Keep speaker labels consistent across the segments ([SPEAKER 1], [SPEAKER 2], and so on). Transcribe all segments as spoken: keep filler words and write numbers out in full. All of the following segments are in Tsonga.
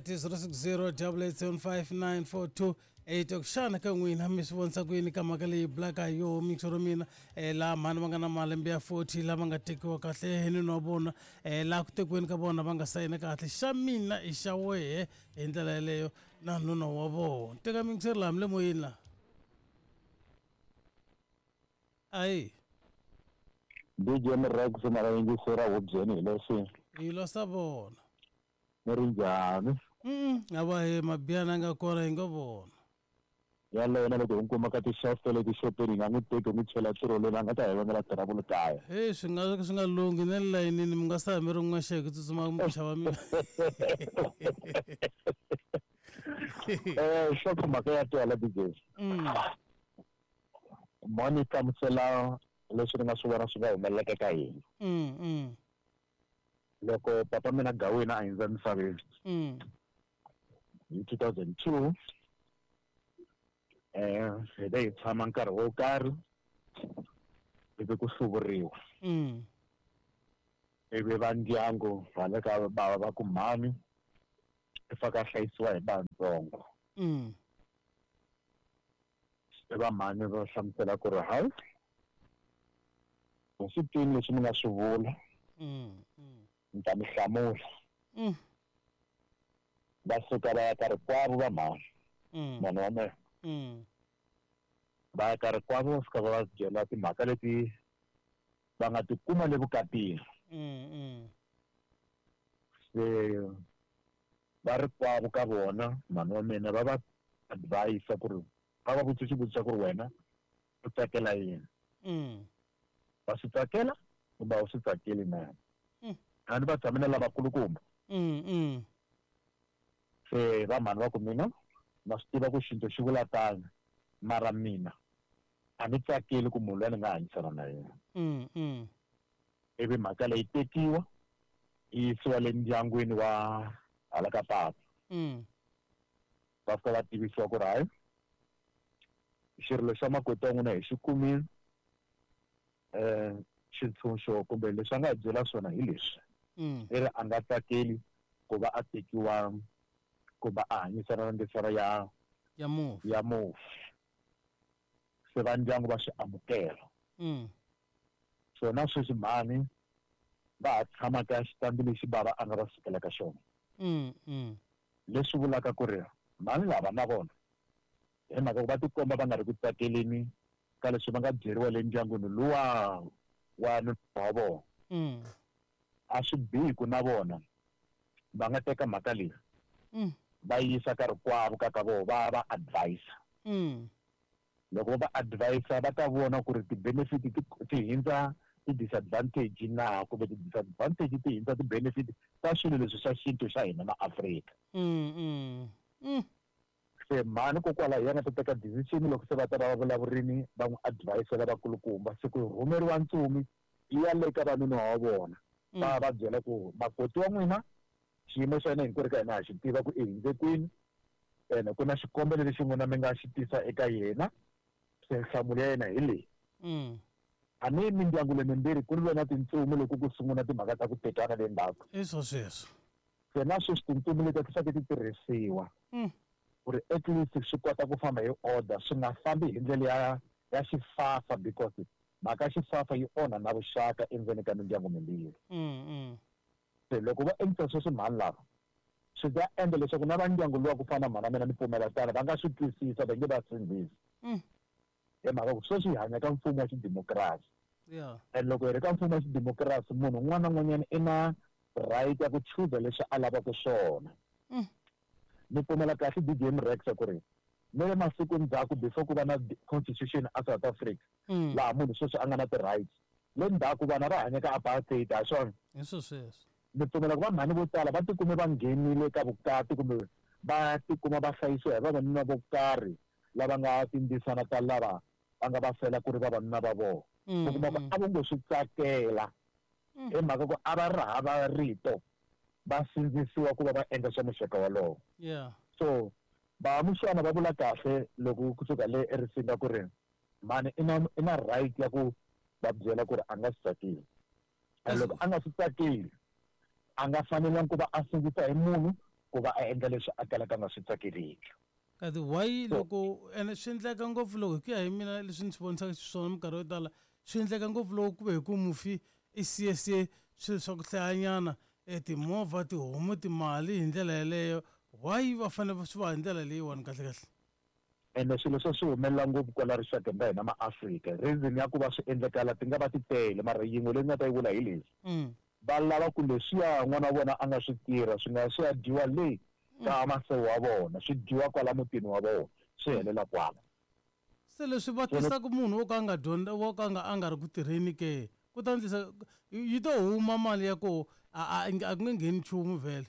[SPEAKER 1] Alright, zero six zero double eight seven five nine four two eight. Xana ka n'wina mi swi vonisa ku yini ka mhaka leyi bulaka hi yoho mixo mina eh, laha mhani va nga na malembe ya forty lava nga tekiwa kahle hi nuna wa vona eh, laha ku tekiweni ka vona va nga sayina kahle xa mina i xa wehe hi ndlela yeleyo na nuna wa vona. Teka mixo laha mi le moyeni laha. Ayi.
[SPEAKER 2] D J Mrex na vayingiseri hubyeni hi leswi.
[SPEAKER 1] Hi losa vona.
[SPEAKER 2] Ni ri njhani?
[SPEAKER 1] Mm, a va hi mabiyana nga kona hi nga vona.
[SPEAKER 2] Yaleyo na loko hi n'wi kuma ka ti-shelf ta le tixopeni hi nga n'wi teki hi n'wi chela tirolweni a nga ta hi vangela trouble kaya.
[SPEAKER 1] Hey, swi nga swi nga lunghi na le layinini mi nga sa mi ri n'wexe hi ku tsutsuma mi xava mi.
[SPEAKER 2] Eh, xo mhaka ya twala D J.
[SPEAKER 1] Mm.
[SPEAKER 2] Moni hlamusela leswi ni nga swi vona swi nga humelelaka ka hina.
[SPEAKER 1] Mm, mm.
[SPEAKER 2] Loko papa mina Gawina a hundza emisaveni.
[SPEAKER 1] Mm.
[SPEAKER 2] Hi two thousand two, eh, hi ve hi tshama nkarhi wo karhi, ivi ku hluvuriwa.
[SPEAKER 1] Mm.
[SPEAKER 2] Ivi va ndyangu va le ka bava va ku mhani i faka hlayisiwa hi vantsongo.
[SPEAKER 1] Mm.
[SPEAKER 2] Se va mhani va hlamusela ku ri hayi, a swi twini leswi mi nga swi vula.
[SPEAKER 1] Mm, mm.
[SPEAKER 2] Ni ta mi hlamula.
[SPEAKER 1] Mm.
[SPEAKER 2] Va suka va ya ka rikwavo va mhani.
[SPEAKER 1] Mm.
[SPEAKER 2] Mhani wa mina.
[SPEAKER 1] Mm.
[SPEAKER 2] Va ya ka rikwavo va fika va va byela timhaka leti va nga tikuma le vukatini.
[SPEAKER 1] Mm, mm.
[SPEAKER 2] Se va rikwavo ka vona mhani wa mina va va advise ku ri va va vutisa xivutiso ku ri wena u tsakela yini.
[SPEAKER 1] Mm.
[SPEAKER 2] Va swi tsakela kumbe a wu swi tsakeli na?
[SPEAKER 1] Mm.
[SPEAKER 2] A ni va tshame na lavakulukumba.
[SPEAKER 1] Mm, mm.
[SPEAKER 2] Se va mhani va ku mina na swi tiva ku xintu xi vula tano, mara mina a ni tsakeli ku munhu loyi ni nga hanyisana na yena.
[SPEAKER 1] Mm, mm.
[SPEAKER 2] Ivi mhaka leyi tekiwa yi yisiwa le ndyangwini wa hala ka papa.
[SPEAKER 1] Mm.
[SPEAKER 2] Va fika va tivisiwa ku ri hayi, xirilo xa makoti wa n'wina hi xi kumile, eh, xintshunxo kumbe leswi a nga hi byela swona hi leswi.
[SPEAKER 1] Mm.
[SPEAKER 2] I ri a nga tsakeli ku va a tekiwa kumbe a hanyisana na ndzisana ya
[SPEAKER 1] Ya mufi.
[SPEAKER 2] ya mufi. Se va ndyangu va swi amukela.
[SPEAKER 1] Mm.
[SPEAKER 2] So na sweswi mhani va ha tshama ka xitandi lexi bava a nga va sukela ka xona.
[SPEAKER 1] Mm, mm.
[SPEAKER 2] Leswi vulaka ku ri mhani lava na vona hi mhaka ku va tikomba va nga ri ku tsakeleni ka leswi va nga byeriwa le ndyangwini luwa wa nuna wa vona.
[SPEAKER 1] Mm.
[SPEAKER 2] A swi bihi ku na vona va nga teka mhaka leyi
[SPEAKER 1] Mm.
[SPEAKER 2] va yisa ka rikwavo ka ka vona va va advise.
[SPEAKER 1] Mm.
[SPEAKER 2] Loko va advise va ta vona ku ri ti-benefit ti, ti hindza ti-disadvantage na kumbe ti-disadvantage ti hindza ti-benefit ta swilo leswi swa xintu xa hina ma Afrika.
[SPEAKER 1] Mm, mm. Mm.
[SPEAKER 2] Se mhani kokwalaho hi yena ta teka decision loko se va ta va va vulavurini va n'wi advise lavakulukumba. Se ku rhumeriwa ntsumi yi ya le ka vanuna wa vona.
[SPEAKER 1] Mm.
[SPEAKER 2] Va va byela ku makoti wa n'wina xiyimo xa yena hinkwerhu ka hina ha xi tiva ku i hundze kwini, ene ku na xikombelo lexi n'wina mi nga xi tisa eka yena, se nhlamulo ya yena hi leyi.
[SPEAKER 1] Mm.
[SPEAKER 2] A ni mindyangu leyi mimbirhi ku ri na tintsumi loko ku sungula timhaka ta ku tekana le ndzhaku.
[SPEAKER 1] I swo sweswo.
[SPEAKER 2] Se na sweswi tintsumi leti ti fanekele ti tirhisiwa.
[SPEAKER 1] Mm.
[SPEAKER 2] Ku ri at least swi kota ku famba hi order, swi nga fambi hi ndlela ya, ya xifafa, because mhaka ya xifafa yi onha na vuxaka endzeni ka mindyangu mimbirhi.
[SPEAKER 1] Mm, mm.
[SPEAKER 2] Se loko va endlisa sweswi mhani lava, swi ta endla leswaku na va ndyangu luwa ku fana na mhana mina ni pfumela tano, va nga swi twisisa, va nge va sindzisi.
[SPEAKER 1] Mm.
[SPEAKER 2] Hi mhaka ku sweswi hi hanya ka mfumo wa xidemokirasi.
[SPEAKER 1] Yeah.
[SPEAKER 2] And loko hi ri ka mfumo wa xidemokirasi, munhu un'wana na un'wanyana i na right ya ku chuza leswi a lavaka swona.
[SPEAKER 1] Mm.
[SPEAKER 2] Ni pfumela kahle D J Mrex ku ri ni le masiku ndzhaku before ku va na constitution a South Africa,
[SPEAKER 1] Mm.
[SPEAKER 2] laha munhu sweswi a nga na ti-rights. Le ndzhaku vana va hanya ka apartheid, ha swona?
[SPEAKER 1] Hi swo sweswo.
[SPEAKER 2] Ni pfumela ku va mhani vo tala va tikume va nghenile ka vukati kumbe va tikuma va hlayisiwa hi vavanuna vo karhi lava nga tindzisana ta lava va nga va fela ku ri vavanuna va vona.
[SPEAKER 1] Mm,
[SPEAKER 2] U kuma ku
[SPEAKER 1] mm.
[SPEAKER 2] a vo ngo swi tsakela.
[SPEAKER 1] Mm.
[SPEAKER 2] Hi mhaka ku a va ri hava rito, va sindzisiwa ku va va endla swa muxaka wolowo.
[SPEAKER 1] Yeah.
[SPEAKER 2] So va muxana va vula kahle loko kusuka le eRisinga ku ri mhani i na, i na right ya ku va byela ku ri a nga swi tsakeli. And loko a nga swi tsakeli, a nga fanelangi ku va a sindzisa hi munhu ku va a endla leswi a kalaka a nga swi tsakeliki.
[SPEAKER 1] Kasi why
[SPEAKER 2] So-
[SPEAKER 1] loko ene swi endleka ngopfu loko hi ku ya hi mina leswi ni swi vonisaka xiswona minkarhi yo tala swi endleka ngopfu loko ku ve hi ku mufi i siye siye swilo swa ku hlayanyana e timovha tihomu timali hi ndlela yeleyo why va fanele swi va hi ndlela leyiwani kahle kahle
[SPEAKER 2] Ene swilo swo swi humelela ngopfu kwala rixakeni ra hina maAfrika. Reason ya ku va swi endlekala ti nga va ti tele mara yin'we leyi ni nga ta yi vula hi leswi
[SPEAKER 1] mm.
[SPEAKER 2] va lava ku leswiya n'wana wa vona a nga swi tirha swi nga swi ya dyiwa le ka masewu wa vona swi dyiwa kwala mutini wa vona swi helela kwala.
[SPEAKER 1] Se leswi va tisaka munhu wo ka a nga dyondza wo ka a nga a nga ri ku tirheni ke ku ta endlisa yi to huma mali ya koho a a a ku nge ngheni nchumu vhele.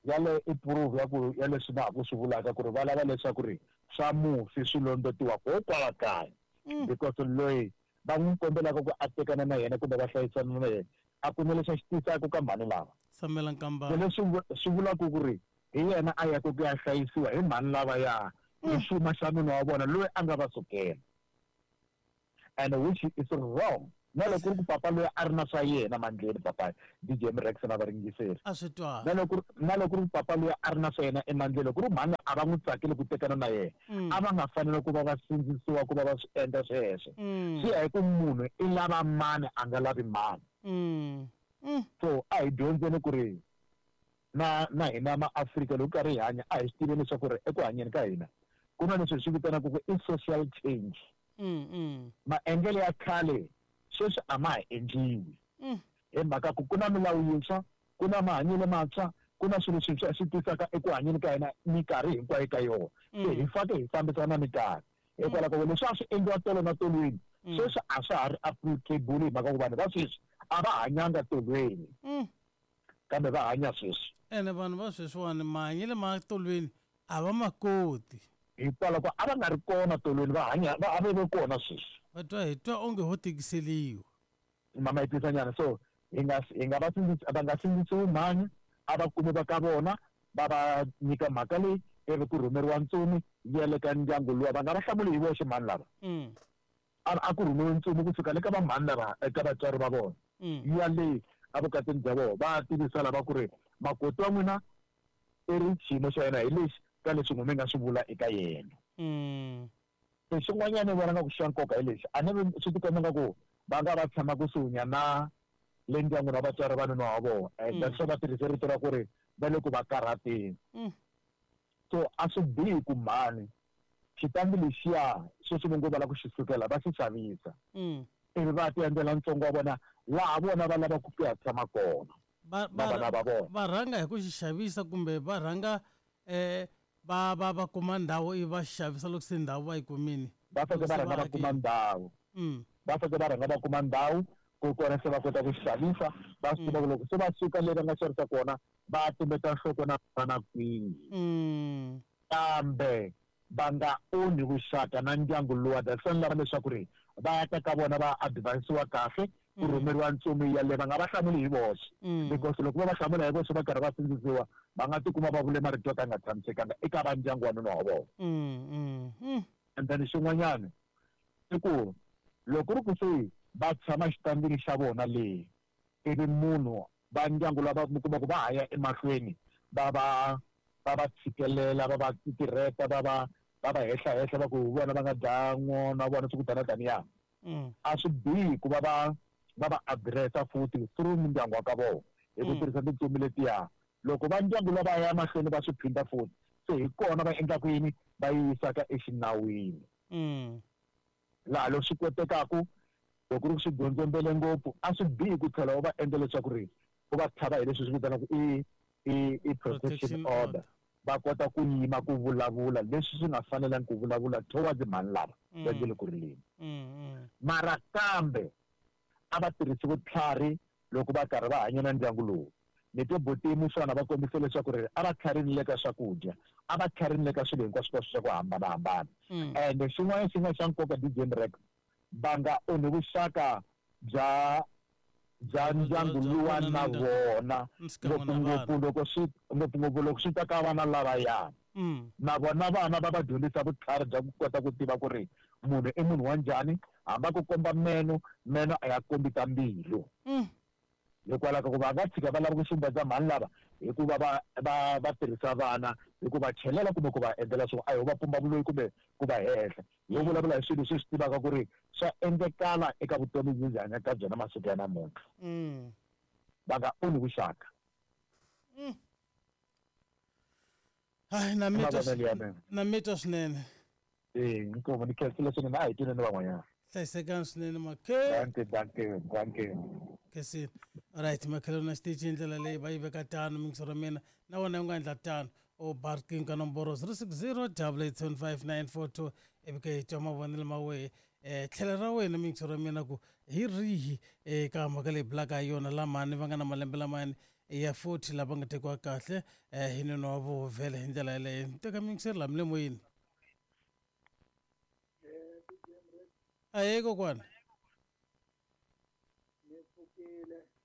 [SPEAKER 2] Yaleyo i proof ya ku ya leswi na ha ku swi vulaka ku ri va lava leswaku ri swa mufi swi londotiwa ko kwala kaya
[SPEAKER 1] Mm.
[SPEAKER 2] because loyi va n'wi kombelaka ku a tekana na yena kumbe va hlayisana na yena a ku na lexi a xi tisaka ka mhani lava.
[SPEAKER 1] Tshamela
[SPEAKER 2] Se
[SPEAKER 1] nkambana.
[SPEAKER 2] leswi vu- swi vulaka ku ri hi yena a yaka ku ya hlayisiwa hi mhani lavaya hi xuma xa nuna wa vona loyi a nga va sukela and which is wrong. Na loko ku ri ku papa loyi a ri na swa yena mandleni papa D J Mrex na varingiseri
[SPEAKER 1] A swi twala.
[SPEAKER 2] na loko na loko ku ri ku papa loyi a ri na swa yena emandleni loko ku ri mhani a va n'wi tsakeli ku tekana na yena
[SPEAKER 1] Mm.
[SPEAKER 2] a va nga fanele ku va va sindzisiwa ku va va swi endla sweswo.
[SPEAKER 1] Mm.
[SPEAKER 2] Swi ya hi ku munhu i lava mani a nga lavi mani.
[SPEAKER 1] Mm. Mm.
[SPEAKER 2] So a hi dyondzeni ku ri na na hina maAfrika loko karhi hi hanya a hi swi tiveni leswaku ri eku hanyeni ka hina ku na leswi hi swi vitanaka ku i social change.
[SPEAKER 1] Mm, mm.
[SPEAKER 2] Maendlelo ya khale sweswi a ma ha endliwi
[SPEAKER 1] Mm.
[SPEAKER 2] hi mhaka ku ku na milawu yintshwa ku na mahanyelo mantshwa ku na swilo swintshwa swi tisaka eku hanyeni ka hina minkarhi hinkwayo ka yona. Se hi fanele hi fambisana na minkarhi hikwalaho ka ku leswi a swi endliwa tolo na tolweni
[SPEAKER 1] Mm.
[SPEAKER 2] sweswi a swa ha ri applicable hi mhaka ku vanhu va sweswi a va hanyanga tolweni
[SPEAKER 1] Mm.
[SPEAKER 2] kambe va hanya sweswi.
[SPEAKER 1] Ene vanhu va sweswiwani mahanyelo ma tolweni a va ma koti.
[SPEAKER 2] Hikwalaho ko a va nga ri kona tolweni va hanya va a va ve kona sweswi.
[SPEAKER 1] Va twa hi twa onge ho tikiseliwa.
[SPEAKER 2] Mama yi tisa nyana so hi nga hi nga va sindzisi va nga sindzisiwi mhani a va kumi va ka vona va va nyika mhaka leyi ivi ku rhumeriwa ntsumi yi ya le ka ndyangu luwa va nga va hlamuli hi voxe mhani lava.
[SPEAKER 1] Mm.
[SPEAKER 2] A a ku rhumiwe ntsumi kusuka le ka va mhani lava eka vatswari va vona.
[SPEAKER 1] Mm.
[SPEAKER 2] Yi ya le evukatini bya vona va tivisa lava ku ri makoti wa n'wina i ri xiyimo xa yena hi lexi ka leswi n'wina mi nga swi vula eka yena.
[SPEAKER 1] Mm.
[SPEAKER 2] Se xin'wanyana ni vona nga ku xa nkoka hi lexi a ni vi swi tikomba nga ku va nga va tshama kusuhi na le ndyangwini wa vatswari va nuna wa vona. And
[SPEAKER 1] Mm.
[SPEAKER 2] that's why va tirhise rito ra ku ri va le ku va karhateni.
[SPEAKER 1] Mm.
[SPEAKER 2] So a swi bihi ku mhani xitandi lexiya sweswi va ngo va lava ku xi sukela va xi xavisa.
[SPEAKER 1] Mm.
[SPEAKER 2] Ivi va ti endlela ntsongo wa vona laha vona va lavaka ku ya tshama kona.
[SPEAKER 1] Va
[SPEAKER 2] Na vana va vona.
[SPEAKER 1] va rhanga hi ku xi xavisa kumbe va rhanga eh va va va kuma ndhawu ivi va xavisa loko se ndhawu va yi kumile.
[SPEAKER 2] Va fanele va rhanga va kuma ndhawu.
[SPEAKER 1] Mm.
[SPEAKER 2] Va fanele va rhanga va kuma ndhawu ku kona se va kota ku xavisa va swi tiva ku loko se va suka le va nga xavisa kona va tumbeta nhloko na vana kwihi.
[SPEAKER 1] Mm.
[SPEAKER 2] Kambe va nga onhi vuxaka na ndyangu luwa that's why ni lava leswaku ri va ya ta ka vona va advise-iwa kahle ku
[SPEAKER 1] Mm.
[SPEAKER 2] rhumeriwa ntsumi yaleyo va nga va hlamuli hi voxe.
[SPEAKER 1] Mm.
[SPEAKER 2] Because loko va va hlamula hi voxe va karhi va sindzisiwa va nga tikuma va vule marito yo ka ya nga tshamisekanga eka va ndyangu wa nuna wa vona.
[SPEAKER 1] Mm, mm, mm.
[SPEAKER 2] And then xin'wanyana i ku loko ri ku se va tshama xitandini xa vona le ivi munhu va ndyangu lava mi kuma ku va ha ya emahlweni va va va va tshikelela va va titirheta va va va va hehlahehla va ku vona va nga dlaya n'wana wa vona swi ku tana taniya.
[SPEAKER 1] Mm.
[SPEAKER 2] A swi bihi ku va va va va address-a futhi through mindyangu wa ka vona hi ku
[SPEAKER 1] Mm.
[SPEAKER 2] tirhisa tintsumi letiya. Loko va ndyangu lava ya mahlweni va swi phinda futhi se hi kona va endlaka yini va yi yisaka exinawini.
[SPEAKER 1] Mm.
[SPEAKER 2] Laha loko swi kotekaku loko ri ku swi gondzombele ngopfu a swi bihi ku tlhela u va endla leswaku ri u va tlhava hi leswi swi vitanaka i i i protection
[SPEAKER 1] Protection
[SPEAKER 2] order.
[SPEAKER 1] order.
[SPEAKER 2] Va kota ku yima ku vulavula leswi swi nga fanelangi ku vulavula towards mhani lava va nge le ku rileni.
[SPEAKER 1] Mm, mm.
[SPEAKER 2] Mara kambe a va tirhisi vutlhari loko va karhi va hanya na ndyangu lowu. Ni twe buti Muswana va kombise leswaku ri a va tlharini le ka swakudya a va tlharini le ka swilo hinkwaswo swa ku hambanahambana.
[SPEAKER 1] Mm.
[SPEAKER 2] And xin'wana xi nga xa nkoka D J Mrex va nga onhi vuxaka bya bya
[SPEAKER 1] Bya-
[SPEAKER 2] ndyangu
[SPEAKER 1] bya
[SPEAKER 2] luwa
[SPEAKER 1] vona
[SPEAKER 2] na
[SPEAKER 1] na ndyangu.
[SPEAKER 2] vona.
[SPEAKER 1] Xikan'we na
[SPEAKER 2] Ngopfungopfu
[SPEAKER 1] vana.
[SPEAKER 2] loko swi ngopfungopfu loko swi ta ka vana lavaya.
[SPEAKER 1] Mm.
[SPEAKER 2] Na vona vana va va dyondzisa vutlhari bya ku kota ku tiva ku ri munhu i munhu wa njhani hambi a ku komba meno meno a ya kombi ta mbilu.
[SPEAKER 1] Mm.
[SPEAKER 2] Hikwalaho ka ku va nga tshika va lava ku xumbedza mhani lava hi ku va va va va tirhisa vana hi ku va chelela kumbe ku va endlela swo a hi va pumba vuloyi kumbe ku va hehla yo vulavula hi swilo leswi swi tivaka ku ri swa endlekala eka vutomi lebyi hi hanyaka byona masiku ya namuntlha va nga onhi vuxaka.
[SPEAKER 1] Hayi na mi twa na mi twa swinene.
[SPEAKER 2] Eh inkomu ni khensile swinene a hi twini ni van'wanyana.
[SPEAKER 1] Hlayisekani swinene makhe.
[SPEAKER 2] Danke danke danke.
[SPEAKER 1] Khensile. Alright makhelwani na xitichi hi ndlela leyi va yi veka tano mingiso ra mina na wena u nga endla tano u ba riqingho ka nomboro zero six zero double eight seven five nine four two ivi ke hi twa mavonelo ma wehe um tlhelo ra wena mingiso ra mina ku hi rihi eka mhaka leyi bulaka hi yona lamani va nga na malembe lamani ya forty lava nga tekiwa kahle um hi nuna wa voho vhele hi ndlela yeleyo teka mingiseri lami le moyeni. Ahee kokwana.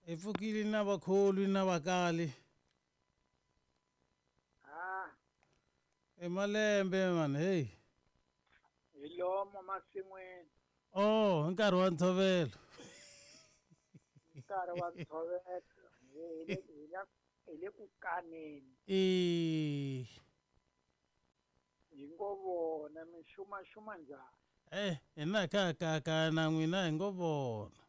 [SPEAKER 1] Hi pfukile na vakholwi na vakali. I malembe mani hey.
[SPEAKER 3] Hi lomo masin'wini.
[SPEAKER 1] Oh, hi nkarhi wa ntshovelo.
[SPEAKER 3] Nkarhi wa ntshovelo hi hi le ku kaneni.
[SPEAKER 1] E
[SPEAKER 3] hi ngo vona mi xumaxuma njhani?
[SPEAKER 1] Eh, hina ka ka ka na n'wina hi ngo vona.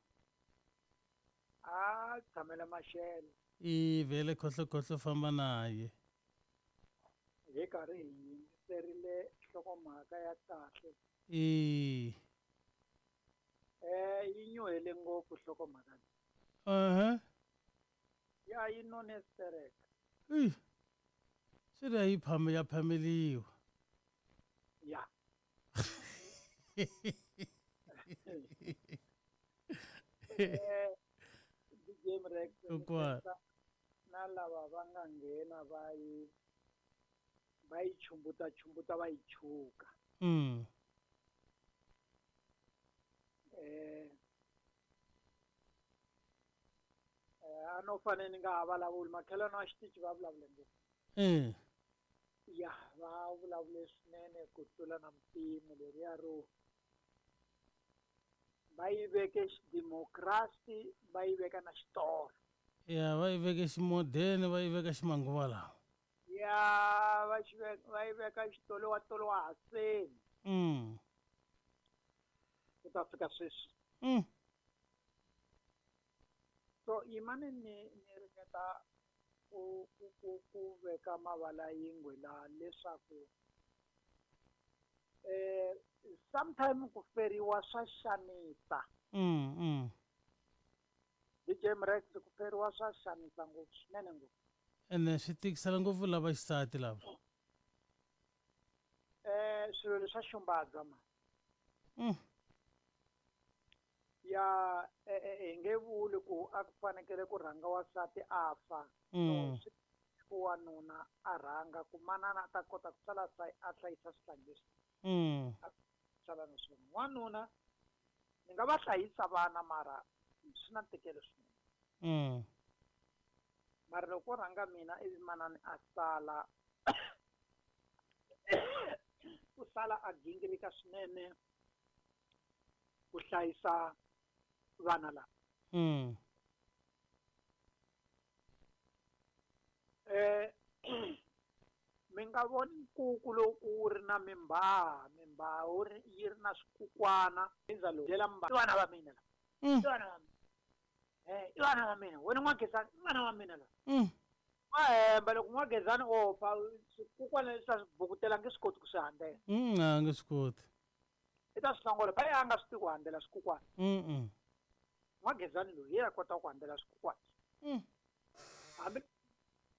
[SPEAKER 3] A tshamela maxelo.
[SPEAKER 1] I vhele khohlokhohlo famba naye.
[SPEAKER 3] Hi karhi hi yingiserile nhlokomhaka ya kahle.
[SPEAKER 1] E
[SPEAKER 3] eh yi nyuhele ngopfu nhlokomhaka leyi.
[SPEAKER 1] Uh-huh.
[SPEAKER 3] Ya yi none sterek.
[SPEAKER 1] Eh. Swi ri yi phame ya phameliwa.
[SPEAKER 3] Ya. Eh D J Rex na lava va nga nghena va yi va yi chumbuta chumbuta va yi chuka.
[SPEAKER 1] Mm.
[SPEAKER 3] Eh eh a no fanele ni nga ha vulavuli makhelwani wa xitichi va vulavule ngopfu.
[SPEAKER 1] Eh.
[SPEAKER 3] Ya va vulavule swinene ku tlula na mpimo leriya ro va yi veke xidemokirasi va yi veka na xitolo.
[SPEAKER 1] Ya va yi veke ximodeni va yi veka ximanguva lawa.
[SPEAKER 3] Ya va xi veka va yi veka xitolo wa tolo wa haseni.
[SPEAKER 1] Mm.
[SPEAKER 3] Ku ta fika sweswi.
[SPEAKER 1] Mm.
[SPEAKER 3] So yimani ni ni ringeta ku ku ku ku veka mavala yingwe laha leswaku eh sometime ku feriwa swa xanisa.
[SPEAKER 1] Mm mm.
[SPEAKER 3] D J Rex ku feriwa swa xanisa ngopfu swinene ngopfu.
[SPEAKER 1] Ene swi tikisela ngopfu lava xisati lava.
[SPEAKER 3] Eh swilo leswa xumbadza ma.
[SPEAKER 1] Mm.
[SPEAKER 3] Ya hi nge vuli ku a ku fanekele ku rhanga wansati a fa.
[SPEAKER 1] Mm.
[SPEAKER 3] So ku wanuna a rhanga ku manana a ta kota ku sala a hlayisa swihlangi leswi.
[SPEAKER 1] Mm.
[SPEAKER 3] Sala na swona. Wanuna ni nga va hlayisa vana mara swi na ntikelo swinene.
[SPEAKER 1] Mm.
[SPEAKER 3] Mara loko rhanga mina ivi manana a sala ku sala a gingirika swinene ku hlayisa vana lava.
[SPEAKER 1] Mm.
[SPEAKER 3] Eh mi nga voni nkuku lowu wu ri na mimbhaha mimbhaha wu ri yi ri na swikukwana endzalo byela mba i vana va mina lava.
[SPEAKER 1] Mm.
[SPEAKER 3] I vana va mina. Eh i vana va mina wena N'wagezani i vana va mina lava.
[SPEAKER 1] Mm.
[SPEAKER 3] Va hemba loko N'wagezani o fa swikukwana leswi a swi bukutela nge swi koti ku swi handzela.
[SPEAKER 1] Mm, a nge swi koti.
[SPEAKER 3] I ta swi hlongola phaya a nga swi tivi ku handzela swikukwana.
[SPEAKER 1] Mm mm.
[SPEAKER 3] N'wagezani loyi hi a kota ku handzela swikukwana.
[SPEAKER 1] Mm.
[SPEAKER 3] Hambi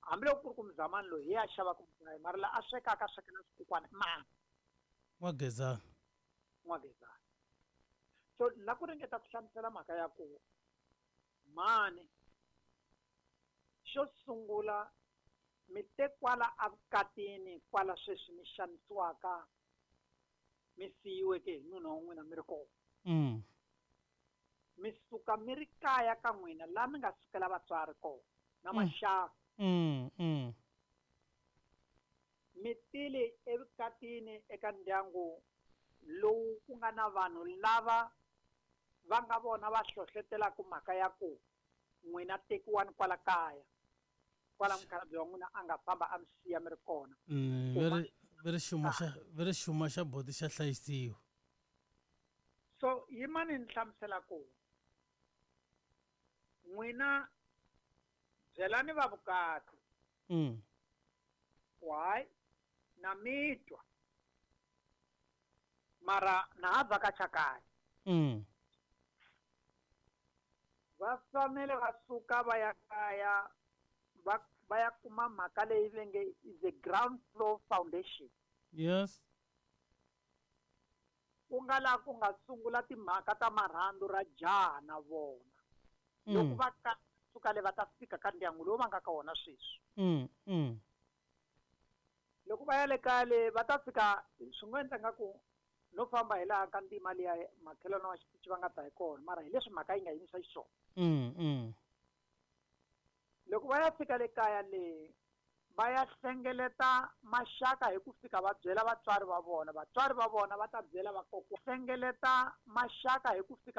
[SPEAKER 3] hambiloko ku ri ku muzamani loyi hi a xavaka mugayo mara la a swekaka a swekela swikukwana i mani.
[SPEAKER 1] N'wagezani.
[SPEAKER 3] N'wagezani. So la ku ringeta ku hlamusela mhaka ya ku mani xo sungula mi te kwala evukatini kwala sweswi mi xanisiwaka mi siyiweke hi nuna wa n'wina mi ri kona.
[SPEAKER 1] Mm.
[SPEAKER 3] Mi suka mi ri kaya ka n'wina laha mi nga sukela vatswari kona na
[SPEAKER 1] Mm.
[SPEAKER 3] maxaka.
[SPEAKER 1] Mm mm.
[SPEAKER 3] Mi tile evukatini eka ndyangu lowu ku nga na vanhu lava va nga vona va hlohlotelaka mhaka ya ku n'wina tekiwani kwala kaya. Kwala mukhalabye wa n'wina a nga famba a mi siya mi ri kona.
[SPEAKER 1] Mm,
[SPEAKER 3] Ku
[SPEAKER 1] ve ri ve ri xuma xa ve ri xuma xa boti xa hlayisiwa.
[SPEAKER 3] So yimani ni hlamusela ku n'wina byelani va vukati
[SPEAKER 1] Mm.
[SPEAKER 3] ku hayi na mi twa mara na ha vhakacha kaya.
[SPEAKER 1] Mm.
[SPEAKER 3] Va fanele va suka va ya kaya va va ya kuma mhaka leyi va nge is a ground floor foundation.
[SPEAKER 1] Yes.
[SPEAKER 3] Ku nga laha ku nga sungula timhaka ta marhandzu ra jaha na vona. Loko
[SPEAKER 1] Mm.
[SPEAKER 3] va ka suka le va ta fika ka ndyangu lowu va nga ka wona sweswi.
[SPEAKER 1] Mm. Mm.
[SPEAKER 3] Loko va ya le kaya le va ta fika swi ngo endla nga ku no famba hi laha ka ndzima liya makhelwani wa xitichi va nga ta hi kona mara hi leswi mhaka yi nga yimisa xiswona.
[SPEAKER 1] Mm. Mm.
[SPEAKER 3] Loko va ya fika le kaya le va ya hlengeleta maxaka hi ku fika va byela vatswari va vona, vatswari va vona va ta byela vakokwana. Hlengeleta maxaka hi ku fika